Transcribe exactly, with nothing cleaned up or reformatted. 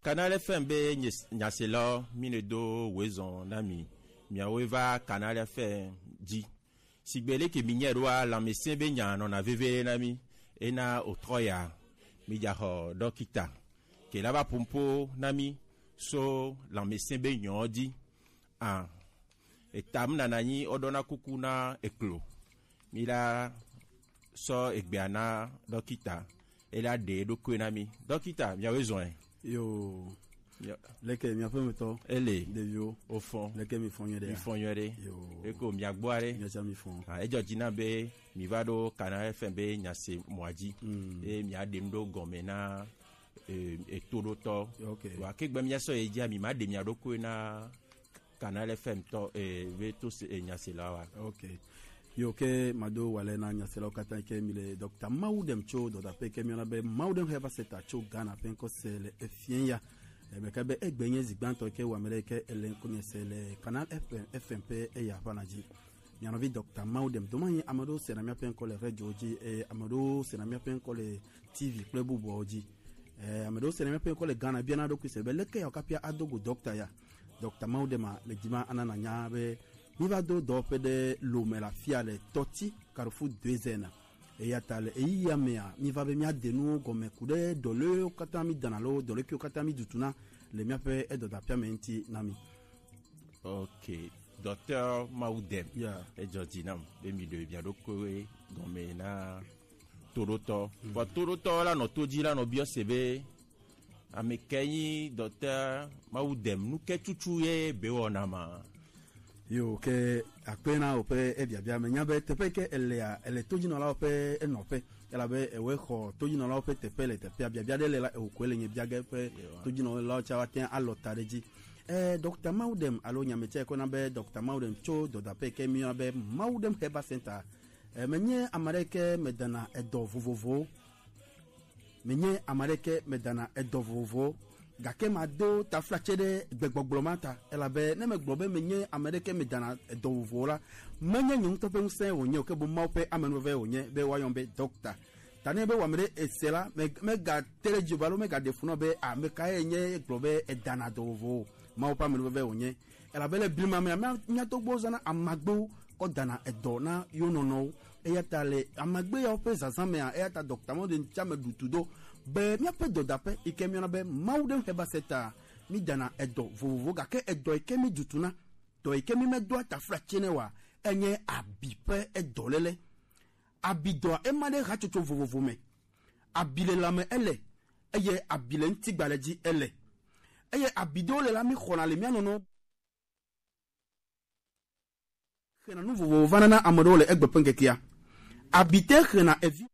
Canal F M be nyes- nyaselawo, mi ne do woezɔn na mi. Miawoe va Canal F M dzi. Sigbe leke mi nyɛ ɖoa, lãmesẽ be nya nɔna veve na mi. Ena otrɔ ya, mi dza xɔ dɔkita ke la va ƒoƒo na mi so lãmesẽ be nyɔ dzi. A, eta mi nana nyi woɖɔna kuku na eklo. Mi la sɔ egbea na dɔkita, e la ɖe eɖokui na mi. Dɔkita, miawoe zɔn ɛ. Yo. Yo. Leke miaƒe metɔ? Ele. Ɖeviwo. Wofɔ. Leke mi fɔ nyuie ɖe? Mi fɔ nyuie ɖe. Yo. Eko miagbɔ aɖe. Miatsa mi fɔ. Ah, edzɔ dzi na be mi va ɖo Canal F M be nyase mɔa dzi. Mm. Eye mia ɖem ɖo gɔme na, eh, etoɖotɔ. Ok. Wa ke gbe mia sɔ ye dzia, mi ma ɖe mia ɖokui na Canal F M tɔ, eh, be to se, eh, nyaselawa. Ok. Yo ke mado wale na nyaselawo katã ke mi le Doctor Mawudem tso dɔdaƒe ke mi na be Mawudem Herbal Center tso Ghana ƒe ŋkɔ se le efia ya. Eh, me ka be egbe nye zigbantɔ ke wa me ɖe ke ele ŋkɔ nye se le Canal F M, F M ƒe eya ƒe na dzi. Mia nɔvi Doctor Mawudem doma yi ame ɖewo se na mia ƒe ŋkɔ le radio dzi, eh, ame ɖewo se na mia ƒe ŋkɔ le T V kple bubuawo dzi. Eh, ame ɖewo se na mia ƒe ŋkɔ le Ghana bia na ɖokui se be leke ya kapia ado go doctor ya. Doctor Mawudema le dzima ana na nya be mi va do dɔwɔƒe ɖe Lome le afia le Tɔti Carrefour Deuxième. Eya ta le eyi ya mea, mi va be mia de nuwo gɔme ku ɖe dɔlewo katã mi dana lo dɔlekiwo katã mi dutuna le miaƒe edɔdapia me ŋuti na mi. Ok, Docteur Mawudem. Yeah. Edzɔ dzi nam be mi ɖe mia ɖokuiwo gɔme na toɖotɔ. Mm. Vɔ toɖotɔ la nɔ to dzi la nɔ biɔ se be Ame ke nyi Docteur Mawudem, nu ke tutu ye be wɔna ma? Yo, ke akpe na woƒe ebiabia. Menya be teƒe ke elea, ele todzinɔlawo ƒe enɔƒe. Elabe ewe xɔ todzinɔlawo ƒe teƒe le teƒea. Biabia ɖe le la, ewo koe le nye bia ge ƒe. Yewa. Todzinɔlawo tsa wa te alɔ ta ɖe dzi. Eh, Docteur Mawudem, alo nyametsɛ kɔna be Docteur Mawudem tso dɔdaƒe ke mi yɔna be Mawudem Herbal Center. Eh, menye ame ɖe ke medana edɔ vovovowo. Menye ame aɖeke medana edɔ vovovowo, gake mado taflatse ɖe gbegbɔgblɔ ma ta, elabe ne megblɔ be menye ame aɖeke medana edɔ vovovowo la, menye nye ŋutɔ ƒe ŋusẽ wònye o, ke boŋ Mawu ƒe amenuveve wònye be woayɔm be dɔkta. Ta ne be wɔ ame ɖe ese la, me- megate ɖe dzi o alo megaɖe fu nɔ be ame kae nye gblɔ be edana dɔ vovovowo. Mawu ƒe amenuveve wònye. Elabe le blema mea, mía- mía tɔgbuiwo zãna amagbewo kɔ dana edɔ na yewo nɔnɔwo. Eya ta le amagbe yawo ƒe zazã mea, eya ta Docteur Mawudem tsã me ɖu tu do be míaƒe dɔdaƒe yi ke míyɔna be Mawudem Herbal Center, mídana edɔ vovovo, gake edɔ yi ke mídutuna, dɔ yi ke mímedoa taflatse nɛ oa, enye abi ƒe edɔléle. Abidɔa ema ɖe hatsotso vovovo me. Abi le lãme ele, eye abi le ŋutigbalẽ dzi ele. Eye abi ɖewo le la, míxɔna le mía nɔnɔ xena nu vovovo vana na ame ɖewo le egbe ƒe ŋkekea. Abi te xena evi